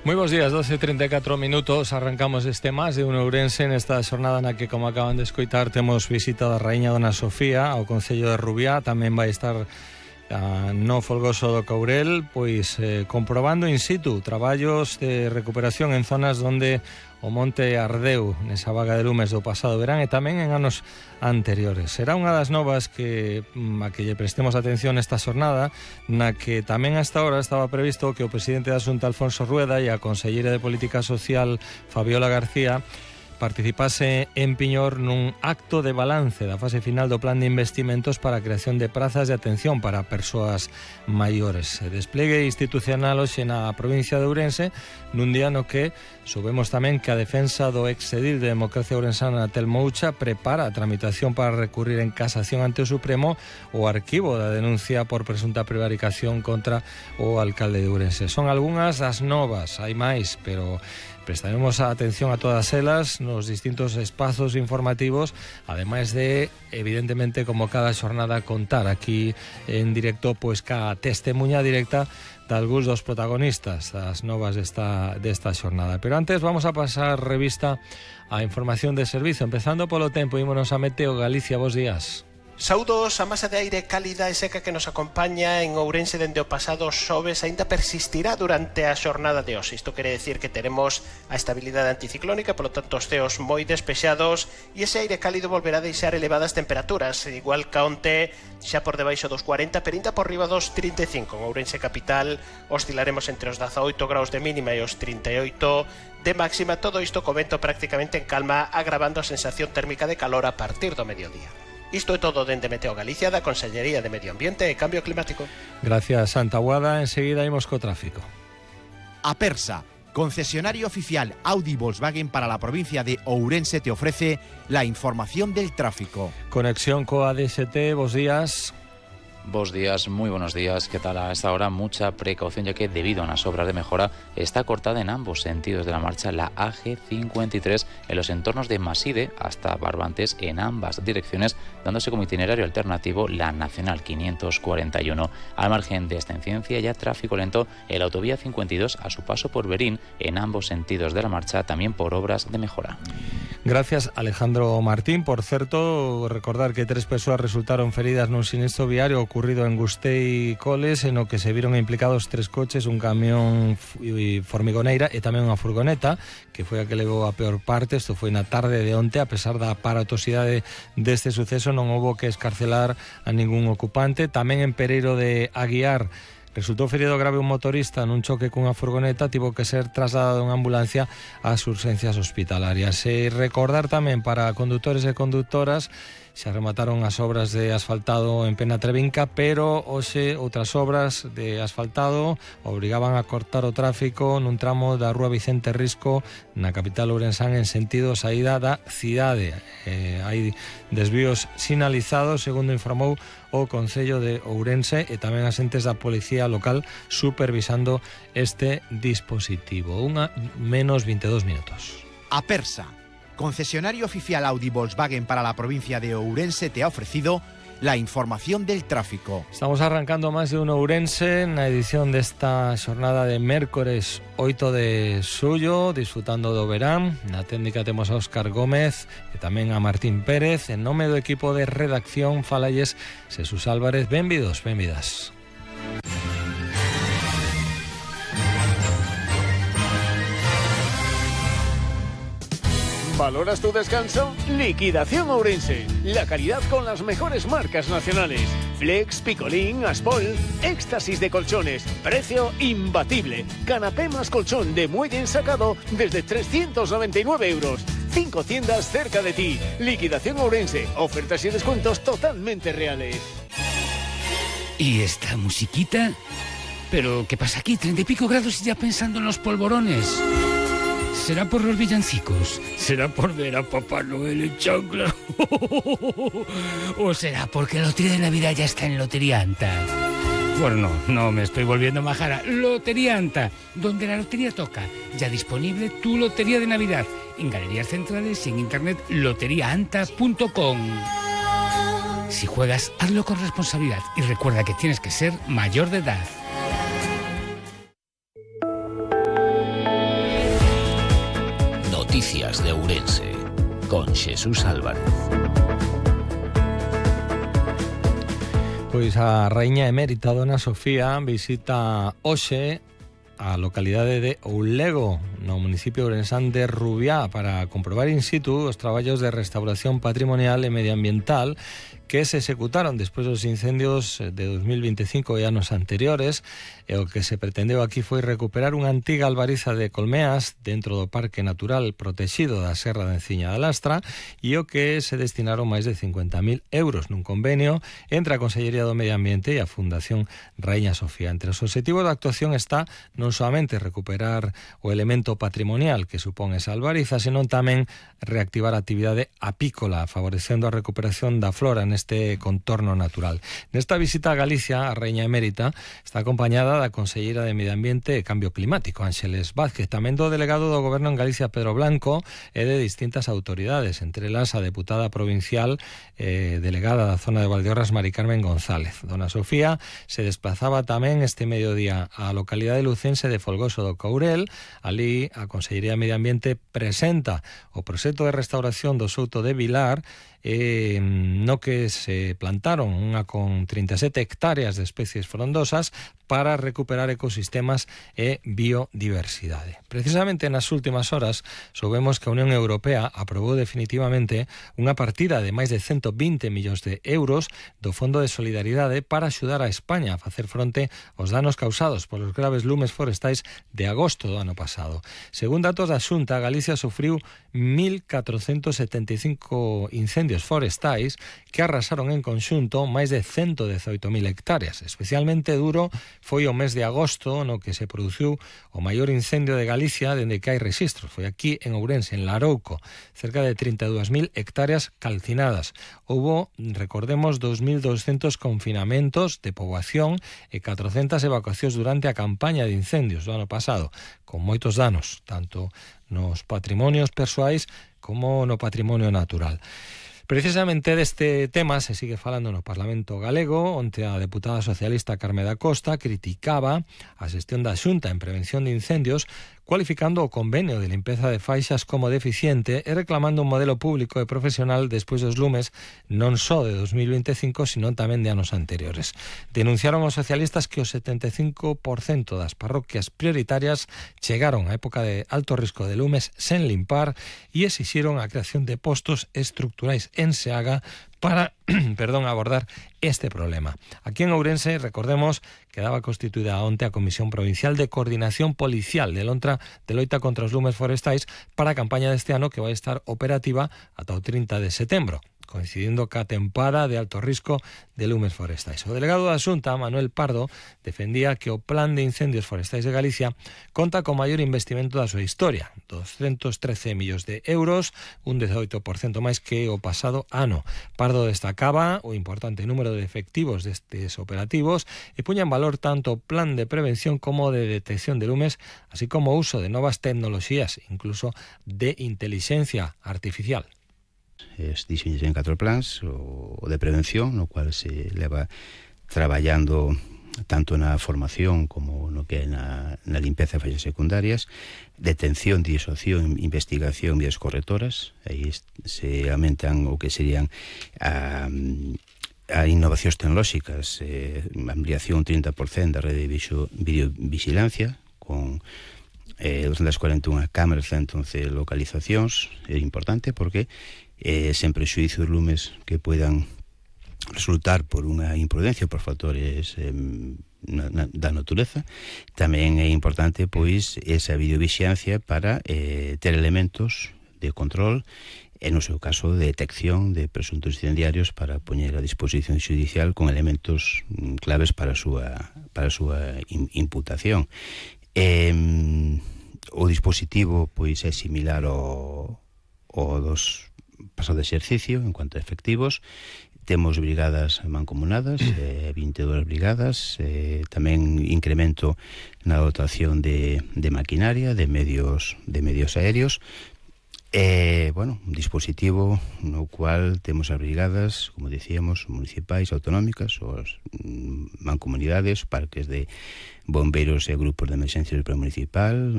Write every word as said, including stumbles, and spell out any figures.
Moi bons días, doce e trinta e catro minutos. Arrancamos este Más de un Ourense nesta xornada na que, como acaban de escoitar, temos visita da Raíña Dona Sofía ao Concello de Rubiá. Tamén vai estar uh, no Folgoso do Courel, pois eh, comprobando in situ traballos de recuperación en zonas onde o monte ardeu nesa vaga de lumes do pasado verán e tamén en anos anteriores. Será unha das novas que a que lle prestemos atención esta xornada, na que tamén hasta ahora estaba previsto que o presidente da Xunta, Alfonso Rueda, e a conselleira de Política Social, Fabiola García, participase en Piñor nun acto de balance da fase final do plan de investimentos para a creación de prazas de atención para persoas maiores. Se despliegue institucional hoxe na provincia de Ourense, nun día no que soubemos tamén que a defensa do exedil de Democracia Ourensana, Telmo Ucha, prepara a tramitación para recurrir en casación ante o Supremo o arquivo da denuncia por presunta prevaricación contra o alcalde de Ourense. Son algunhas das novas, hai máis, pero prestaremos a atención a todas elas nos distintos espazos informativos, ademais de, evidentemente, como cada xornada, contar aquí en directo pois ca testemunha directa de algúns dos protagonistas das novas desta, desta xornada. Pero antes vamos a pasar revista a información de servizo, empezando polo tempo. Ímonos a Meteo Galicia. Bos días. Saúdos. A masa de aire cálida e seca que nos acompaña en Ourense dende o pasado xoves aínda persistirá durante a xornada de hoxe. Isto quere decir que teremos a estabilidade anticiclónica, polo tanto os ceos moi despexados, e ese aire cálido volverá a deixar elevadas temperaturas, igual que onte, xa por debaixo dos cuarenta, pero ainda por riba dos trinta e cinco. En Ourense capital oscilaremos entre os dezaoito graus de mínima e os trinta e oito de máxima. Todo isto comento prácticamente en calma, agravando a sensación térmica de calor a partir do mediodía. Isto é todo dende Meteo Galicia, da Consellería de Medio Ambiente e Cambio Climático. Gracias, Santa Guada. Enseguida imos co tráfico. Apersa, concesionario oficial Audi Volkswagen para la provincia de Ourense, te ofrece la información del tráfico. Conexión co A D S T, bos días. Bos días, muy buenos días. ¿Qué tal? A esta hora mucha precaución, ya que debido a unas obras de mejora está cortada en ambos sentidos de la marcha la A G cincuenta y tres en los entornos de Maside hasta Barbantes en ambas direcciones, dándose como itinerario alternativo la Nacional quinientos cuarenta y uno. Al margen de esta incidencia, ya tráfico lento en la autovía cincuenta y dos a su paso por Berín en ambos sentidos de la marcha, también por obras de mejora. Gracias, Alejandro Martín. Por certo, recordar que tres persoas resultaron feridas nun sinistro viario ocurrido en Gustei Coles, en o que se viron implicados tres coches, un camión formigoneira e tamén unha furgoneta, que foi a que levou a peor parte. Isto foi na tarde de onte. A pesar da aparatosidade deste suceso, non houbo que escarcelar a ningún ocupante. Tamén en Pereiro de Aguiar resultou ferido grave un motorista nun choque cunha furgoneta, tivo que ser trasladado en ambulancia ás urxencias hospitalarias. E recordar tamén para condutores e conductoras, xa remataron as obras de asfaltado en Penatrevinca, pero hoxe outras obras de asfaltado obrigaban a cortar o tráfico nun tramo da Rúa Vicente Risco na capital ourensán en sentido saída da cidade. Eh, hai desvíos sinalizados, segundo informou o Concello de Ourense, e tamén as entes da Policía Local supervisando este dispositivo. Unha menos veintidós minutos. Apersa, concesionario oficial Audi Volkswagen para la provincia de Ourense, te ha ofrecido la información del tráfico. Estamos arrancando Más de un Ourense na edición desta xornada de mércores oito de xullo, disfrutando do verán. Na técnica temos a Óscar Gómez e tamén a Martín Pérez. En nome do equipo de redacción falalles Jesús Álvarez. Benvidos, benvidas. ¿Valoras tu descanso? Liquidación Ourense. La calidad con las mejores marcas nacionales. Flex, Picolín, Aspol, éxtasis de colchones. Precio imbatible. Canapé más colchón de muelle ensacado desde trescientos noventa y nueve euros. Cinco tiendas cerca de ti. Liquidación Ourense. Ofertas y descuentos totalmente reales. ¿Y esta musiquita? ¿Pero qué pasa aquí? Treinta y pico grados y ya pensando en los polvorones. ¿Será por los villancicos? ¿Será por ver a Papá Noel en chancla? ¿O será porque la lotería de Navidad ya está en Lotería Anta? Bueno, no, no me estoy volviendo majara. Lotería Anta, donde la lotería toca. Ya disponible tu lotería de Navidad. En galerías centrales y en internet lotería anta punto com. Si juegas, hazlo con responsabilidad y recuerda que tienes que ser mayor de edad. Noticias de Ourense, con Xesús Álvarez. Pois a raíña emérita Dona Sofía visita hoxe a localidade de Oulego, no municipio ourensán de Rubiá, para comprobar in situ os traballos de restauración patrimonial e medioambiental que se executaron despois dos incendios de dos mil veinticinco e anos anteriores, e o que se pretendeu aquí foi recuperar unha antiga albariza de colmeas dentro do Parque Natural Protexido da Serra de Enciña da Lastra, e o que se destinaron máis de cincuenta mil euros nun convenio entre a Consellería do Medio Ambiente e a Fundación Raíña Sofía. Entre os obxectivos da actuación está non soamente recuperar o elemento patrimonial que supón esa albariza, senón tamén reactivar a actividade apícola, favorecendo a recuperación da flora neste contorno natural. Nesta visita a Galicia, a Raíña Emérita está acompañada da Conselleira de Medio Ambiente e Cambio Climático, Ángeles Vázquez, tamén do delegado do Goberno en Galicia, Pedro Blanco, e de distintas autoridades, entre elas a deputada provincial eh, delegada da zona de Valdeorras, Mari Carmen González. Dona Sofía se desplazaba tamén este mediodía á localidade lucense de Folgoso do Courel. Ali a Consellería de Medio Ambiente presenta o proxecto de restauración do Souto de Vilar, eh, no que se plantaron unha con trinta e sete hectáreas de especies frondosas para recuperar ecosistemas e biodiversidade. Precisamente nas últimas horas soubemos que a Unión Europea aprobou definitivamente unha partida de máis de ciento vinte millóns de euros do Fondo de Solidaridade para axudar a España a facer fronte aos danos causados polos graves lumes forestais de agosto do ano pasado. Según datos da Xunta, Galicia sufriu mil catrocentos setenta e cinco incendios forestais que arrasaron en conxunto máis de ciento dezaoito mil hectáreas. Especialmente duro foi o mes de agosto, no que se produciu o maior incendio de Galicia dende que hai registros. Foi aquí en Ourense, en Larouco, cerca de trinta e dúas mil hectáreas calcinadas. Houbo, recordemos, dos mil doscientos confinamentos de poboación e catrocentas evacuacións durante a campaña de incendios do ano pasado, con moitos danos, tanto nos patrimonios persoais como no patrimonio natural. Precisamente deste tema se sigue falando no Parlamento galego, onde a deputada socialista Carme da Costa criticaba a xestión da Xunta en prevención de incendios, cualificando o convenio de limpeza de faixas como deficiente e reclamando un modelo público e profesional despois dos lumes non só de dos mil veinticinco, sino tamén de anos anteriores. Denunciaron os socialistas que o setenta e cinco por cento das parroquias prioritarias chegaron a época de alto risco de lumes sen limpar e exixiron a creación de postos estructurais en Seaga para perdón, abordar este problema. Aquí en Ourense, recordemos, quedaba constituída onte a Comisión Provincial de Coordinación Policial de Lontra de loita contra os lumes forestais para a campaña deste ano, que vai estar operativa ata o trinta de setembro, coincidindo ca tempada de alto risco de lumes forestais. O delegado da Xunta, Manuel Pardo, defendía que o Plan de Incendios Forestais de Galicia conta co maior investimento da súa historia, doscientos trece millóns de euros, un dezaoito por cento máis que o pasado ano. Pardo destacaba o importante número de efectivos destes operativos e puña en valor tanto o plan de prevención como de detección de lumes, así como o uso de novas tecnoloxías, incluso de inteligencia artificial. Es diseños en catro plans, o de prevención, no cual se leva traballando tanto na formación como no que é na, na limpeza de fallas secundarias, detención, disuasión, investigación vías correctoras. Aí se aumentan o que serían a, a innovacións tecnolóxicas, eh, ampliación trinta por cento da rede de videovigilancia con eh, doscientas cuarenta e unha cámaras, ciento once localizacións. É importante porque eh, sen prexuízo de lumes que puedan resultar por unha imprudencia, por factores eh, na, na, da natureza. Tamén é importante, pois, esa videovixiancia para eh, ter elementos de control e, no seu caso, de detección de presuntos incendiarios para poñer a disposición judicial con elementos claves para a súa, para a súa imputación. Eh, o dispositivo, pois, é similar ao, ao dos pasado exercicio en cuanto a efectivos. Temos brigadas mancomunadas, eh, vinte e dúas brigadas, eh, tamén incremento na dotación de, de maquinaria, de medios, de medios aéreos. Eh, bueno, un dispositivo no cual temos as brigadas, como dicíamos, municipais, autonómicas, os mancomunidades, parques de bombeiros e grupos de emerxencia municipal,